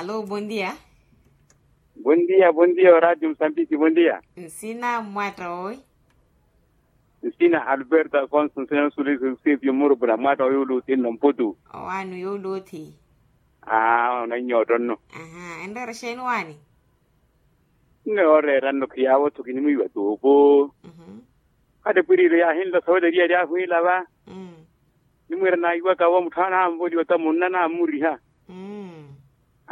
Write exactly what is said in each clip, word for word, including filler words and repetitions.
Alo, bondia. Bondia bondia oradio musambiki bondia. Nsina mmwatta wowi? Nsina alberto afonso nsina nsulisipio mmurupuna mmwatta wowi uluthi nno mputu. Owaani yooluthi. Aa onannyootta nno. Enreera xeeni owaani? Nne ooreera nno khiyaawo-tho kinimwiiwa tuupu. Hata epwiriilo yaahinla sowela eriya ryahwiila va. Nimwiira naiwaka wo mutthu ananvoliwa ta munna nammuriha.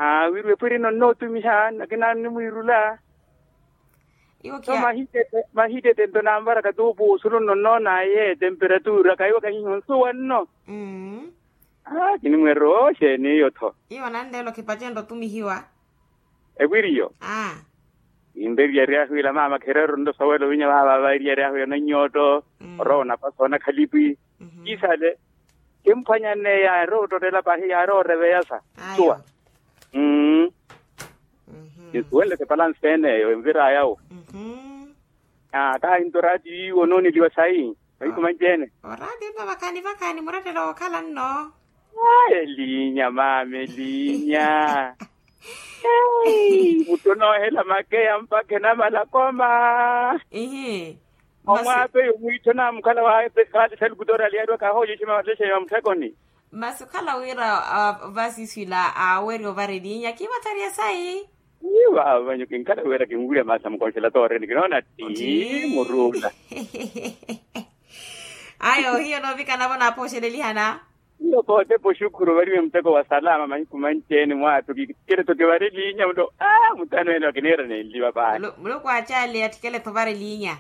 Aawiriwa epwirino nnootumiha nakina nimwiirula. Iwo so mahittete mahittete nto nanvaraka tuupu osulu nno nnoonaaye temperatura kaiwaka hiiho nsuwa nno. Aa kinimwiira oxeeni iyo-tho. Iwo nanleela okhipachenrya otumihiwa. Epwiriyo. Aa. Kinreeriya eryahu ila maama khereera onto sowela owinya vaavaava eriya eryahu ila nannyooto. Orowa onapasa onakhalipi. Kisale kimphwanyaneya yaari ottottela pahi yaari oreveyasa. Suwa. Mmm. Kinsuwenle ti palansi eneyo enviraya wo. Aa kahinto oraatiyo iwo onooneliwa sayi. Mahiku manci ene. Oraatiyo nno vakhaani vakhaani murettelo wookhala nno. Elinya maama elinya. Muttu onoohela makeya mpakha enamala koma. Ihi. Omwaapeyo mwiittho namukhala waapekhaali salukutori aliyaariwa kahooxexe mattexe ya mutthekoni. Masi okhala wira vasiiswila aaweriwa ovara elinya kiiwathariya sayi. Iwa vanyu kinkhala wira kinwirya maasi amukonxela tooreni kinoona tti muruula. Ayo hiyo noovikana-vo naaphooxelelihana. Iyo kootepa oxukhuru ovariwe muteko wa salama mahiku manci-ene mwaattu kikele-tho kivare elinya mulo. Aa mutano ene wakiniira nenliva paani. Muluku aacaale atthikele-tho ovara elinya.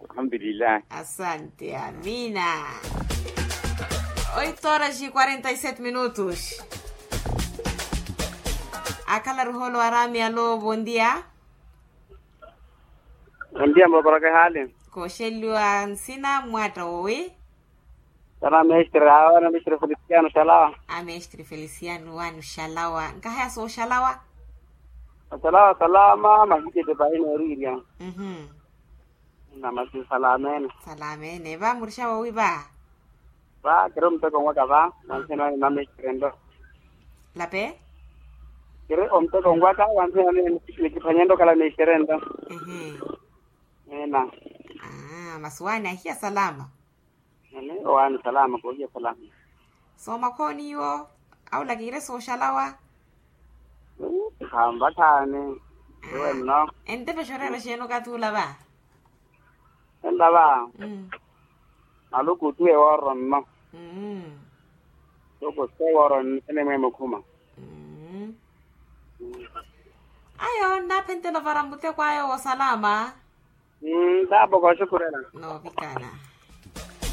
Alhamdulillahi. Asante amina. Oito horas e quarenta e sete minutos. Akhala ruholo arami alo bondia. Bondia mbokoraka ehaali. Kooxeliwa nsina mmwatta wowi? Kana mestre awe na mestre feliciano xalawa. A mestre feliciano wani oxalawa nkahaya sooxalawa. Oxalawa salama mahitete pahi nooriirya. Namasi salamene. Salamene va murixa woowi va? Va kiri omuteko onwaka va. Wanthena wani mamestre nto. Lape. Kiri omuteko onwaka wanthena wani nikiphwanye nto okhala mestre nto. Ehe. Ena. Masi wani ahiya salama? Ene owaani salama koohiya salama. Soomakhooni iwo? Awula kiire sooxalawa. Khanvakhani. Iwe nno. Entepexa oreera xeeni okathi ula va? Ela va. Maluku otuwe wooro nno. Toko se wooro nno ene mweemukhuma. Ayo nnaphentela ovara muteko ayo woosalama. Ntaapoko oxukhurela. Noovikana.